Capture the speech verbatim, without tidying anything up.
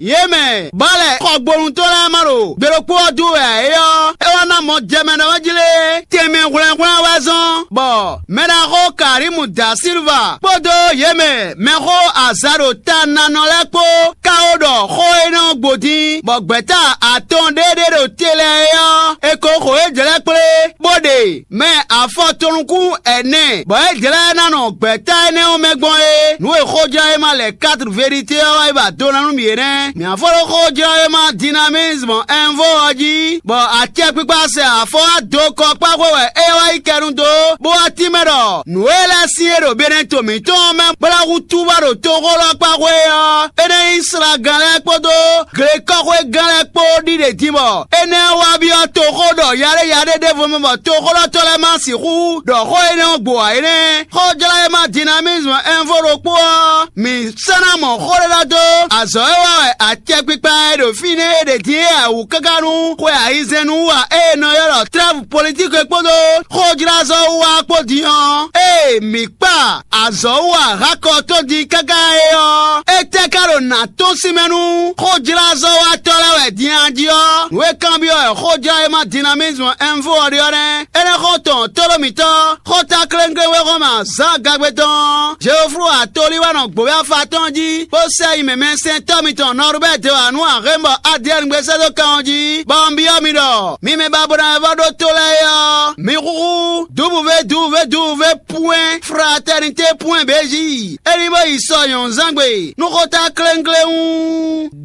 Yě mɛ bɔ lɛ xɔgbónu tɔn lɛ́ɛ ma ɖo gbe ɖokpó ɔ́ dó wɛ ǎ é ɔ́, é wá ná mɔ jɛ mɛ ɖɔ wɛ́ jí lé. Tɛnmɛ hwlɛ́nhwlɛ́n wɛ zɔ́n, bɔ mɛɖaxó Karimu da Silva kpódó yě mɛ mɛxó azǎ ɖo ta nanɔ lɛ́ɛ kpó ka ó ɖɔ xó énɛ́ ɔ́ gbo dín, bɔ gbɛ̌ta atɔn ɖé ɖé ɖo te lɛ́ɛ é ɔ́, è ko xo yě jlɛ́ kplé, bó ɖe mɛ afɔtɔnukún ɛnɛ, bɔ é jlɛ́ ná nɔ gbɛ̌ta énɛ́ ɔ́ mɛ gbɔn é. Nǔ e xójlɔ́yéma lɛ quatre vérité ɔ́ wá yi ba do ná nú mǐ é nɛ́. Mǐ afɔ ɖó xójlɔ́yéma dynamisme info ɔ́ jí, bɔ acɛkpikpa sɛ afɔ wá do kɔ kpá xwe wɛ é wá yi kɛnu dó, bó wá tínmɛ ɖɔ nǔ e lɛ́ sin e ɖo Benɛto mǐtɔn ɔ́ mɛ bó ná hútú wá ɖo toxó lɔ kpá xwe ɔ́, é nɛ́ nyí slagán lɛ́ɛ kpódó glekɔ́xwégán lɛ́ɛ kpó ɖiɖe din bɔ énɛ́ wá byɔ́ toxó ɖɔ yaɖéyaɖé ɖěvo mɛ bɔ toxóɖɔtɔ́ lɛ́ɛ ma sixú ɖɔ xó énɛ́ ɔ́ gbo ǎ é nɛ́. Xójlɔ́yéma dynamisme info ɖokpó ɔ́, mǐ sɔ́ ná mɔ xó ɖé ɖɔ dó azɔ̌ e wa wɛ acɛkpikpa e ɖo fínɛ́ é ɖe din é wú káká nú xwe ayizɛ́n nú wa e è nɔ ylɔ́ ɖɔ trɛ́vu politiki kpódó xójlázɔ́ wú wá kpó din ɔ́. Ée mǐ kpa azɔ̌ wú ahákɔ tɔn din káká é ɔ́, étɛ́ ka ɖo nǎ tɔ́n sín mɛ nú xójlázɔ́watɔ́ lɛ́ɛ wɛ din a jí ɔ́? Nǔ e kanbyɔ́ wɛ xójlɔ́yéma dynamisme info ɔ́ ɖe ɔ́ nɛ́. Énɛ́ xó tɔn tóɖó mǐtɔn, xóta kléŋklé wexɔ́ma Zǎn Gagbe tɔn ɔ́, Jeoflu atolí wɛ nɔ gbǒ afa tɔn jí, bó sɛ yi mɛmɛsɛntɔ́ mitɔn Nɔrubɛ́ de wa nú Ahémbɔ Adiyɛ́ɛn gbe sɛ́ dó kan ɔ́ jí, bɔ un byɔ́ mi ɖɔ mi mɛ ba bo ná wɛ vɔ́ ɖó tó lɛ́ɛ é ɔ́, mi xúxú dǔvúvé dǔvúvé dǔvúvé pwɛ́n fratɛnité pwɛ́n bějí. É ní bó yi sɔ nyɔ̌nuzángbe nú xóta kléŋklé wú.